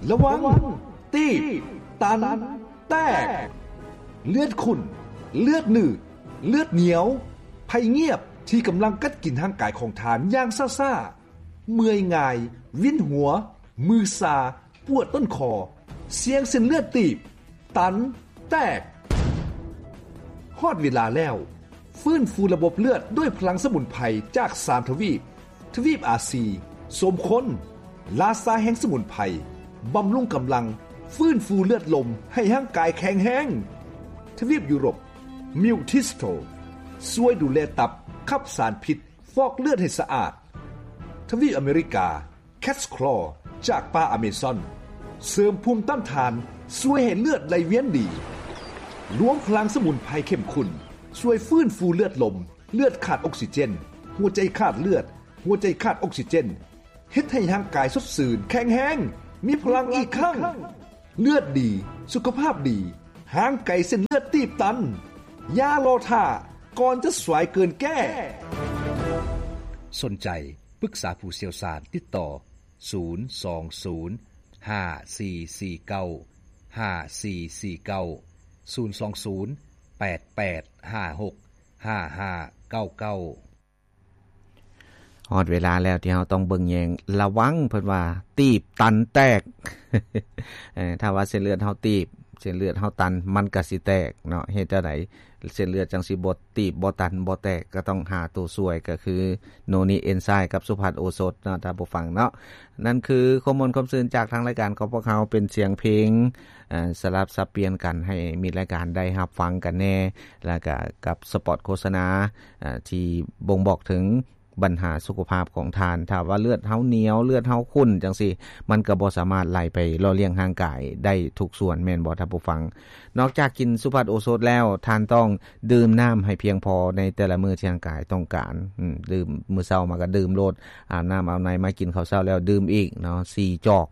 ລະວັງ ຕີບ ຕັນ ແຕກ ເລືອດຂຸ້ນ ເລືອດໜືດ ເລືອດໜຽວ ໄພງຽບທີ່ກຳລັງກັດກິນຮ່າງກາຍຂອງທ່ານຢ່າງຊ້າໆ, ເມື່ອຍງ່າຍ, ວິນຫົວ, ມືຊາ, ປວດຕົ້ນຄໍ, ສ່ຽງເສັ້ນເລືອດຕີບ, ຕັນ, ແຕກ. ຮອດເວລາແລ້ວ, ຟື້ນຟູລະບົບເລືອດດ້ວຍພະລັງສະໝຸນໄພຈາກສາມທະວີບ, ທະວີບອາຊີ, ສົມຄົນ, ລາຊາແຫ່ງສະໝຸນໄພ, ບຳລຸງກຳລັງ, ຟື້ນຟູເລືອດລົມໃຫ້ຮ່າງກາຍແຂງແຮງ. ທະວີບຢູໂຣບ, ມິວທິສໂຕ, ຊ່ວຍດູແລຕັບ, ຂັບສານພິດ, ຟອກເລືອດໃຫ້ສະອາດ. ທະວີບອາເມລິກາ, ແຄດສະຄລໍຈາກປ່າອາເມຊອນ ເສີມພູມຕ້ານທານ, ຊ່ວຍໃຫ້ເລືອດໄຫຼວຽນດີ. ລວມພະລັງສະໝຸນໄພເຂັ້ມຂຸ້ນ ຊ່ວຍຟື້ນຟູເລືອດລົມ, ເລືອດຂາດອົກຊີເຈນ, ຫົວໃຈຂາດເລືອດ, ຫົວໃຈຂາດອົກຊີເຈນ, ເຮັດໃຫ້ຮ່າງກາຍສົດຊື່ນ, ແຂງແຮງ, ມີພະລັງອີກຄັ້ງ. ເລືອດດີ, ສຸຂະພາບດີ, ຫ່າງໄກເສັ້ນເລືອດຕີບຕັນ. ຢ່າລໍຖ້າ, ກ່ອນຈະສວຍເກີນແກ້. ສົນໃຈ ປຶກສາຜູ້ຊ່ຽວຊານ, ຕິດຕໍ່ ສູນສອງສູນ ຫ້າສີ່ສີ່ເກົ້າ ຫ້າສີ່ສີ່ເກົ້າ ສູນສອງສູນ ແປດແປດຫ້າຫົກ ຫ້າຫ້າເກົ້າເກົ້າ. ຮອດເວລາແລ້ວທີ່ເຮົາຕ້ອງເບິ່ງແຍງລະວັງ, ເພິ່ນວ່າ ຕີບຕັນແຕກ. ເອີ ຖ້າວ່າເສັ້ນເລືອດເຮົາຕີບ, ເສັ້ນເລືອດເຮົາຕັນ, ມັນກໍຊິແຕກເນາະ. ເຮັດຈັ່ງໃດ ເສັ້ນເລືອດຈັ່ງຊິບໍ່ຕີບ, ບໍ່ຕັນ, ບໍ່ແຕກ? ກໍຕ້ອງຫາໂຕຊ່ວຍ, ກໍຄືໂນນິເອັນໄຊກັບສຸພັດໂອສົດເນາະ ທ່ານຜູ້ຟັງເນາະ. ນັ້ນຄືຄວາມມ່ວນຄວາມຊື່ນຈາກທາງລາຍການຂອງພວກເຮົາ, ເປັນສຽງເພງ ເອີ ສະຫຼັບສັບປ່ຽນກັນ ໃຫ້ມິດລາຍການໄດ້ຮັບຟັງກັນແດ່, ແລ້ວກະກັບສະປອດໂຄສະນາ ເອີ ທີ່ບົ່ງບອກເຖິງບັນຫາສຸຂະພາບຂອງທ່ານ. ຖ້າວ່າເລືອດເຮົາໜຽວ, ເລືອດເຮົາຂຸ້ນຈັ່ງຊີ້, ມັນກໍບໍ່ສາມາດໄຫຼໄປຫຼໍ່ລ້ຽງຮ່າງກາຍໄດ້ທຸກສ່ວນ, ແມ່ນບໍ່ທ່ານຜູ້ຟັງ? ນອກຈາກກິນສຸພັດໂອສົດແລ້ວ, ທ່ານຕ້ອງດື່ມນ້ຳໃຫ້ພຽງພໍໃນແຕ່ລະມື້ທີ່ຮ່າງກາຍຕ້ອງການ. ອືມ, ດື່ມ, ມື້ເຊົ້າມາກໍດື່ມໂລດ, ອາບນ້ຳອາບໃນມາກິນເຂົ້າເຊົ້າແລ້ວດື່ມອີກເນາະ, ສີ່ຈອກ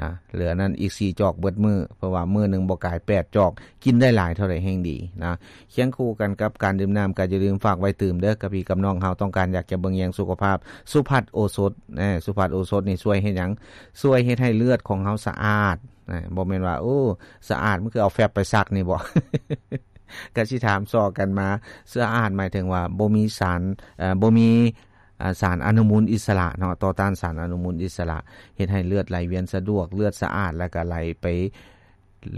ນະ, ເຫຼືອນັ້ນອີກສີ່ຈອກເບິດມື້, ເພາະວ່າມື້ໜຶ່ງບໍ່ກາຍແປດຈອກ, ກິນໄດ້ຫຼາຍເທົ່າໃດແຮ່ງດີນະ. ຄຽງຄູ່ກັນກັບການດື່ມນ້ຳ, ກໍຢ່າລືມຝາກໄວ້ຕື່ມເດີ, ກັບພີ່ກັບນ້ອງເຮົາຕ້ອງການຢາກຈະເບິ່ງແຍງສຸຂະພາບ, ສຸພັດໂອສົດ, ເອີ, ສຸພັດໂອສົດນີ້ຊ່ວຍເຮັດຫຍັງ? ຊ່ວຍເຮັດໃຫ້ເລືອດຂອງເຮົາສະອາດ. ນະ, ບໍ່ແມ່ນວ່າ ໂອ້ ສະອາດ ມັນຄືເອົາແຟັບໄປຊັກນີ້ບໍ? ກະຊິຖາມຊອກກັນມາ. ສະອາດໝາຍເຖິງວ່າບໍ່ມີສານ, ເອີ, ບໍ່ມີ, ອາ, ສານອະນຸມູນອິດສະຫຼະເນາະ, ຕໍ່ຕ້ານສານອະນຸມູນອິດສະຫຼະ, ເຮັດໃຫ້ເລືອດໄຫຼວຽນສະດວກ, ເລືອດສະອາດ ແລ້ວກະໄຫຼໄປ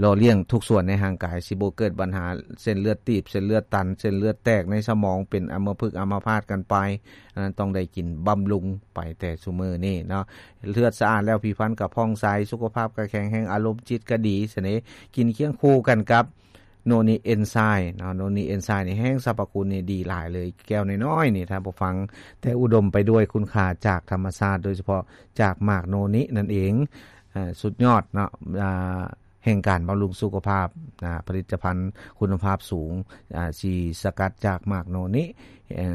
ຫຼໍ່ລ້ຽງທຸກສ່ວນໃນຮ່າງກາຍ, ຊິບໍ່ເກີດບັນຫາເສັ້ນເລືອດຕີບ, ເສັ້ນເລືອດຕັນ, ເສັ້ນເລືອດແຕກໃນສະໝອງ, ເປັນອຳມະພຶກອຳມະພາດກັນໄປ. ອັນນັ້ນຕ້ອງໄດ້ກິນບຳລຸງໄປແຕ່ຊຸມື້ນີ້ເນາະ. ເລືອດສະອາດແລ້ວ, ຜິວພັນກໍຜ່ອງໃສ, ສຸຂະພາບກໍແຂງແຮງ, ອາລົມຈິດກໍດີ, ສະເໜ່, ກິນຄຽງຄູ່ກັນກັບໂນນິເອັນໄຊເນາະ. ໂນນິເອັນໄຊນີ້ແຮງສັບພະຄຸນນີ້ດີຫຼາຍເລີຍ, ແກ້ວນ້ອຍໆນີ້ທ່ານຜູ້ຟັງ, ແຕ່ອຸດົມໄປດ້ວຍຄຸນຄ່າຈາກທຳມະຊາດ, ໂດຍສະເພາະຈາກໝາກໂນນິນັ້ນເອງ. ເອີ, ສຸດຍອດເນາະ, ອາ, ແຫ່ງການບຳລຸງສຸຂະພາບ, ອາ, ຜະລິດຕະພັນຄຸນນະພາບສູງ, ອາ, ທີ່ສະກັດຈາກໝາກໂນນິ, ເອີ.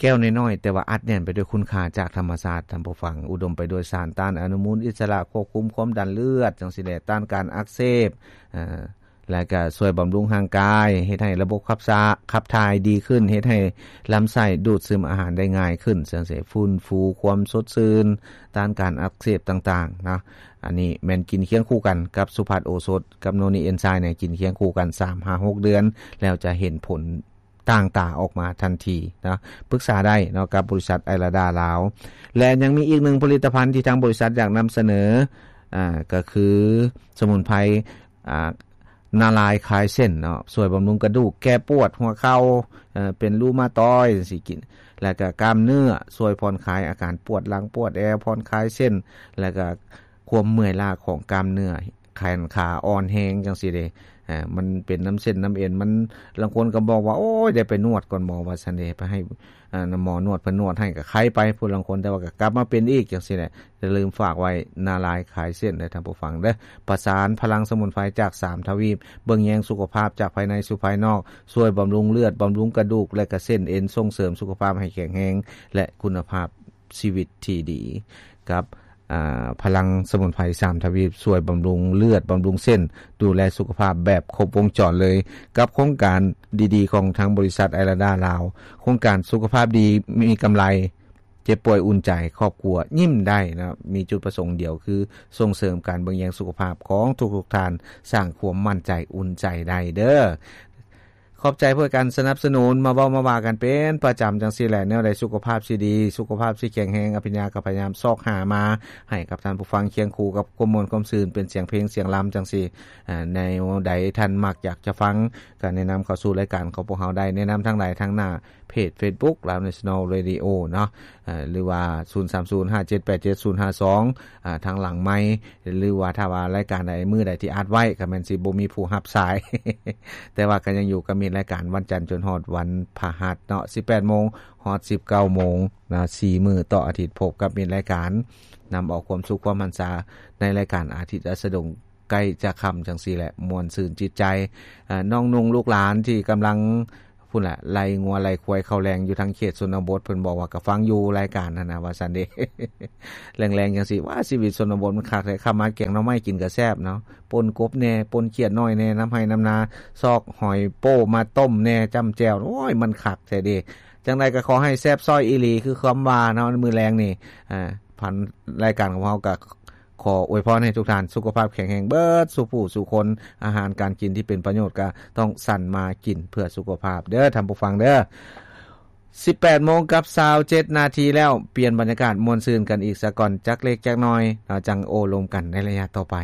ແກ້ວນ້ອຍໆ ແຕ່ວ່າອັດແໜ້ນໄປດ້ວຍຄຸນຄ່າຈາກທຳມະຊາດ, ທ່ານຜູ້ຟັງ, ອຸດົມໄປດ້ວຍສານຕ້ານອະນຸມູນອິດສະຫຼະ, ຄວບຄຸມຄວາມດັນເລືອດ, ຈັ່ງຊີ້ແຫຼະ, ຕ້ານການອັກເສບ, ເອີ, ແລະກະຊ່ວຍບຳລຸງຮ່າງກາຍ, ເຮັດໃຫ້ລະບົບຂັບສາ, ຂັບຖ່າຍດີຂຶ້ນ, ເຮັດໃຫ້ລຳໄສ້ດູດຊຶມອາຫານໄດ້ງ່າຍຂຶ້ນ, ຈັ່ງຊີ້, ຟື້ນຟູຄວາມສົດຊື່ນ, ຕ້ານການອັກເສບຕ່າງໆນະ. ອັນນີ້ແມ່ນກິນຄຽງຄູ່ກັນກັບສຸພັດໂອສົດ, ກັບໂນນິເອັນໄຊນີ້, ກິນຄຽງຄູ່ກັນສາມຫາຫົກເດືອນ, ແລ້ວຈະເຫັນຜົນ ຕ່າງຕາອອກມາທັນທີເນາະ. ປຶກສາໄດ້ເນາະກັບບໍລິສັດໄອລາດາລາວ. ແລະຍັງມີອີກໜຶ່ງຜະລິດຕະພັນທີ່ທາງບໍລິສັດຢາກນຳສະເໜີ, ອາ, ກໍຄືສະໝຸນໄພ, ອາ, ນາລາຍຄາຍເສັ້ນເນາະ, ຊ່ວຍບຳລຸງກະດູກ, ແກ້ປວດຫົວເຂົ່າ, ເປັນຣູມາຕອຍ ຈັ່ງຊີ້, ແລ້ວກໍກ້າມເນື້ອ, ຊ່ວຍຜ່ອນຄາຍອາການປວດຫຼັງປວດແອວ, ຜ່ອນຄາຍເສັ້ນ, ແລ້ວກໍ ຄວາມເມື່ອຍລ້າຂອງກ້າມເນື້ອ ແຂນຂາອ່ອນແຮງ ຈັ່ງຊີ້ເດ້. ເອີ ມັນເປັນນຳເສັ້ນນຳເອັນ ມັນ ລາງຄົນກໍບອກວ່າ ໂອ້ຍ ໄດ້ໄປນວດກ່ອນໝໍ ວ່າຊັ້ນເດ້, ໄປໃຫ້ ເອີ ໝໍນວດ ເພິ່ນນວດໃຫ້ກໍໄຄໄປ ຜູ້ລາງຄົນ, ແຕ່ວ່າກໍກັບມາເປັນອີກ ຈັ່ງຊີ້ແຫຼະ. ຢ່າລືມຝາກໄວ້ ນາລາຍຄາຍເສັ້ນເດີ ທ່ານຜູ້ຟັງເດີ. ປະສານພະລັງສະໝຸນໄພຈາກສາມທະວີບ, ເບິ່ງແຍງສຸຂະພາບຈາກພາຍໃນສູ່ພາຍນອກ, ຊ່ວຍບຳລຸງເລືອດ, ບຳລຸງກະດູກ ແລະ ກະເສັ້ນເອັນ, ສົ່ງເສີມສຸຂະພາບໃຫ້ແຂງແຮງ ແລະ ຄຸນນະພາບຊີວິດທີ່ດີ ກັບ ອາ ພະລັງສະໝຸນໄພສາມທະວີບ ຊ່ວຍບຳລຸງເລືອດ, ບຳລຸງເສັ້ນ, ດູແລສຸຂະພາບແບບຄົບວົງຈອນເລີຍ ກັບໂຄງການດີໆຂອງທາງບໍລິສັດໄອລາດາລາວ, ໂຄງການສຸຂະພາບດີມີກຳໄລ ເຈັບປ່ວຍອຸ່ນໃຈ ຄອບຄົວຍິ້ມໄດ້ນະ ມີຈຸດປະສົງດຽວຄືສົ່ງເສີມການເບິ່ງແຍງສຸຂະພາບຂອງທຸກໆທ່ານ ສ້າງຄວາມໝັ້ນໃຈອຸ່ນໃຈໄດ້ເດີ້. ຂອບໃຈພວກການສະໜັບສະໜູນ ມາເວົ້າມາວ່າກັນເປັນປະຈຳຈັ່ງຊີ້ແຫຼະ. ແນວໃດສຸຂະພາບຊິດີ ສຸຂະພາບຊິແຂງແຮງ ອະພິນຍາກໍພະຍາຍາມຊອກຫາມາໃຫ້ກັບທ່ານຜູ້ຟັງ ຄຽງຄູ່ກັບຄວາມມ່ວນຄວາມຊື່ນ ເປັນສຽງເພງສຽງລຳຈັ່ງຊີ້. ແນວໃດທ່ານມັກຢາກຈະຟັງ ກໍແນະນຳເຂົ້າສູ່ລາຍການຂອງພວກເຮົາໄດ້ ແນະນຳທາງໃດທາງໜ້າ ເພຈເຟສບຸກ Lao National Radio ເນາະ ເອີ ຫຼືວ່າ ສູນສາມສູນຫ້າເຈັດແປດເຈັດສູນຫ້າສອງ ເອີ ທາງຫຼັງໄມ ຫຼືວ່າຖ້າວ່າລາຍການໃດ ມື້ໃດທີ່ອັດໄວ້ ກໍແມ່ນຊິບໍ່ມີຜູ້ຮັບສາຍ ແຕ່ວ່າກໍຍັງຢູ່ກັບມິດລາຍການ ວັນຈັນຈົນຮອດວັນພະຫັດເນາະ ສິບແປດໂມງຮອດສິບເກົ້າໂມງນະ ສີ່ມື້ຕໍ່ອາທິດ ພົບກັບມິດລາຍການ ນຳເອົາຄວາມສຸກຄວາມຫັນສາ ໃນລາຍການອາທິດອາສະດົງ ໃກ້ຈະຄ່ຳຈັ່ງຊີ້ແຫຼະ ມ່ວນຊື່ນຈິດໃຈ. ເອີ ນ້ອງນຸ່ງລູກຫຼານທີ່ກຳລັງ ພຸ້ນແຫຼະ ໄລ່ງົວໄລ່ຄວາຍເຂົ້າແລງຢູ່ທາງເຂດຊົນນະບົດ ເພິ່ນບອກວ່າກໍຟັງຢູ່ລາຍການຫັ້ນນະ ວ່າຊັ້ນເດ. ແລງໆຈັ່ງຊີ້ ວ່າຊີວິດຊົນນະບົດມັນຄັກແທ້ ຂ້າມາແກງໜໍ່ໄມ້ກິນກໍແຊບເນາະ ປົ່ນກົບແດ່ ປົ່ນຂຽດນ້ອຍແດ່ ນຳໄຮ່ນຳນາ ຊອກຫອຍໂປ້ມາຕົ້ມແດ່ ຈ້ຳແຈ່ວ ໂອ້ຍ ມັນຄັກແທ້ເດ. ຈັ່ງໃດກໍຂໍໃຫ້ແຊບຊ້ອຍອີ່ຫຼີ ຄືຄຳວ່າເນາະ ມື້ແລງນີ້ ເອີ ຜ່ານລາຍການຂອງເຮົາກໍ ຂໍອວຍພອນໃຫ້ທຸກທ່ານສຸຂະພາບແຂງແຮງເບິດສູ່ຜູ້ສູ່ຄົນ, ອາຫານການກິນທີ່ເປັນປະໂຫຍດກໍຕ້ອງສັນມາກິນເພື່ອສຸຂະພາບເດີ້ທ່ານຜູ້ຟັງເດີ້. ສິບແປດໂມງກັບຊາວເຈັດນາທີແລ້ວ, ປ່ຽນບັນຍາກາດມ່ວນຊື່ນກັນອີກສາກ່ອນ ຈັກເລັກຈັກນ້ອຍ ເຮົາຈັ່ງໂອ້ລົມກັນໃນໄລຍະຕໍ່ໄປ.